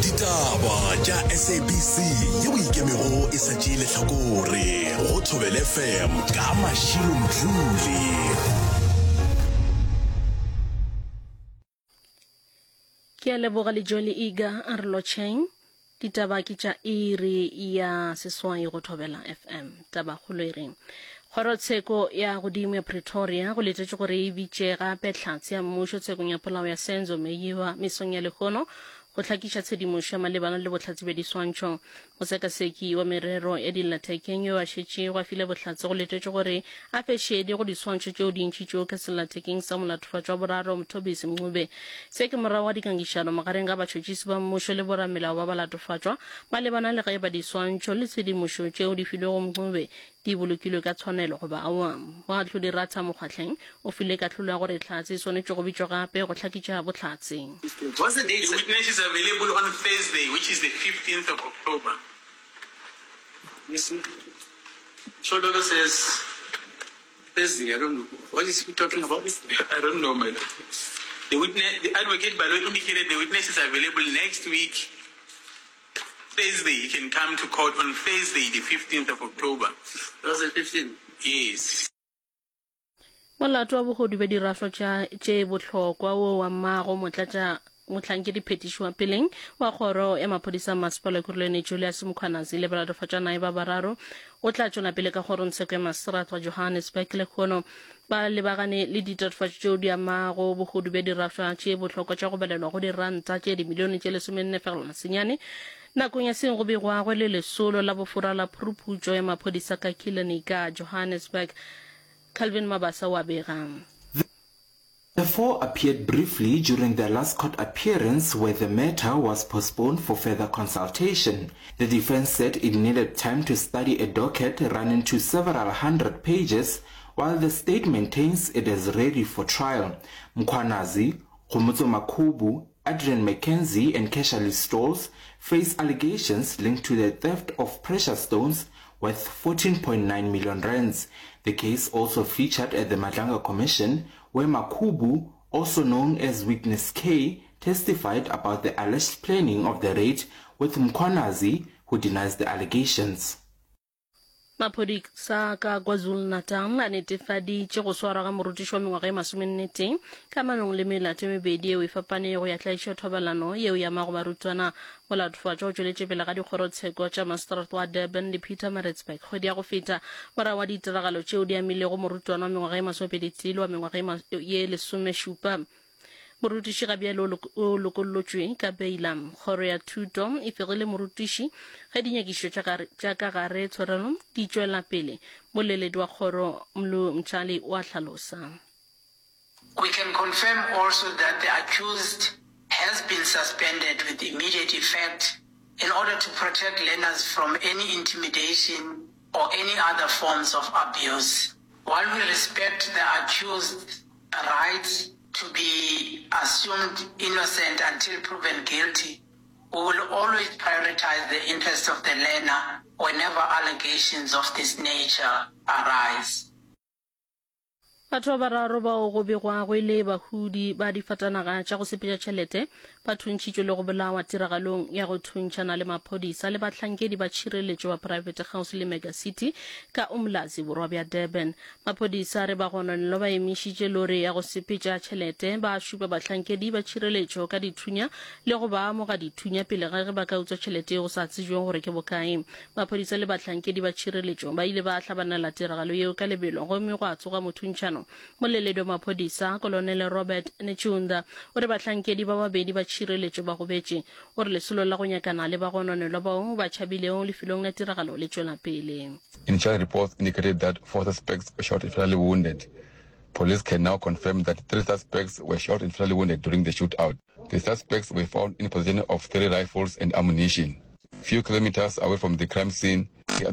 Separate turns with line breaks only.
Ditaba tša SABC yeo e ikemego e sa tšee lehlakore go Thobela FM ka Mashilo Mdluli.
Ke a leboga le Jolly Iga a re lotšheng. Ditaba ke tša iri ya seswai go Thobela FM. Tabakgolo e reng? Kgorotsheko ya godimo ya Pretoria go letetšwe gore e bitše gape hlatse ya mmušo tshekong ya polao ya Senzo Meyiwa mesong ya lehono go hlakiša tshedimošo ya malebana le bohlatse bja diswantšho. Mosekaseki wa merero ya dillathekeng yo a šetšego a file bohlatse go letetšwe gore a fe šedi go diswantšho tšeo di ntšhitšwego ka sellathekeng sa molatofatšwa wa boraro Mthobisi Mncube. Se ke morago ga dikangišano magareng ga batšhotšhisi ba mmušo le boramelao ba balatofatšwa malebana le ge eba diswantšho le tshedimošo tšeo di filwego Mncube di bolokilwe ka tshwanelo goba aowa. Moahlodi Ratha Mokgwahleng o file kahlolo ya gore hlatse e swanetše go bitšwa gape go hlakitša bohlatse.
The witness is available on Thursday, which is the 15th of October.
Shololo says Thursday, I don't know. What is he talking about?
I don't know, my lord. The witness, the advocate Baloyi indicated the witness is available next week, Thursday. He can come to court on Thursday, the 15th of October.
That's the 15th?
Yes.
Molato wa bohodu bja dirafo tša tše bohlokwa wo wa mmago motlatša mohlankedi phetiši wa peleng wa kgoro ya maphodisa a masepala Ekurhuleni Julius Mkhwanazi le balatofatšwa naye ba bararo o tla tšwela pele ka kgorongtsheko ya maseterata wa Johannesburg lehono ba lebagane le ditatofatšo tšeo di amago bohodu bja dirafša tše bohlokwa tša go balelwa go diranta tše dimilione tše 14.9 nakong ya seng go begwago le lesolo la bofora la phuruphutšo ya maphodisa ka Killarney ka Johannesburg. Calvin Mabasa o a bega.
The four appeared briefly during their last court appearance where the matter was postponed for further consultation. The defense said it needed time to study a docket running to several hundred pages while the state maintains it is ready for trial. Mkhwanazi, Khomotso Makhubu, Adrian McKenzie and Kesha Stolz face allegations linked to the theft of precious stones worth 14.9 million rands. The case also featured at the Madlanga Commission, where Makhubu, also known as Witness K, testified about the alleged planning of the raid with Mkhwanazi, who denies the allegations.
Maphodisa ka KwaZulu-Natal a netefaditše go swarwa ga morutiši wa mengwaga e masomennetee kamanong le melato e mebedi yeo e fapanego ya tlaišo ya thobalano yeo e amago barutwana. Molatofatšwa o tšweletše pele ga dikgorotsheko tša maseterata wa Durban le Pietermaritzburg kgwedi ya go feta morago ga ditiragalo tšeo di amilego morutwana wa mengwaga e masomepeditee le wa mengwaga ye lesomešupa. Morutiši ga bjale o lokollotšwe ka beila. Kgoro ya Thuto e fegile morutiši ge dinyakišišo tša ka gare tshwarelo di tšwela pele. Moleledi wa kgoro Mlu Mtshali o a hlalosa.
We can confirm also that the accused has been suspended with immediate effect in order to protect learners from any intimidation or any other forms of abuse. While we respect the accused's right to be assumed innocent until proven guilty, we will always prioritize the interests of the learner whenever allegations of this nature arise.
Batho ba bararo bao go begwago e le bahudi ba difatanaga tša go sepetša tšhelete ba thuntšhitšwe le go bolawa tiragalong ya go thuntšhana le maphodisa le bahlankedi ba tšhireletšo ba praebete kgauswi le Mega City ka Umlazi, borwa bja Durban. Maphodisa a re bagononelwa ba emišitše lori ya go sepetša tšhelete, ba šupa bahlankedi ba tšhireletšo ka dithunya le go ba amoga dithunya pele ga ge ba ka utswa tšhelete yeo go sa tsebjwego gore ke bokae. Maphodisa le bahlankedi ba tšhireletšo ba ile ba hlabanela tiragalo yeo ka lebelo gomme gwa tsoga mothuntšhano. Moleledi wa maphodisa, Kolonele Robert Netshiunda, o re bahlankedi ba babedi ba tšhireletšo ba gobetše. O re lesolo la go nyakana le bagononelwa bao ba tšhabilego lefelong la tiragalo le tšwela pele.
Initial reports indicated that four suspects were shot and fatally wounded. Police can now confirm that three suspects were shot and fatally wounded during the shootout. The suspects were found in possession of three rifles and ammunition. Few kilometers away from the crime scene.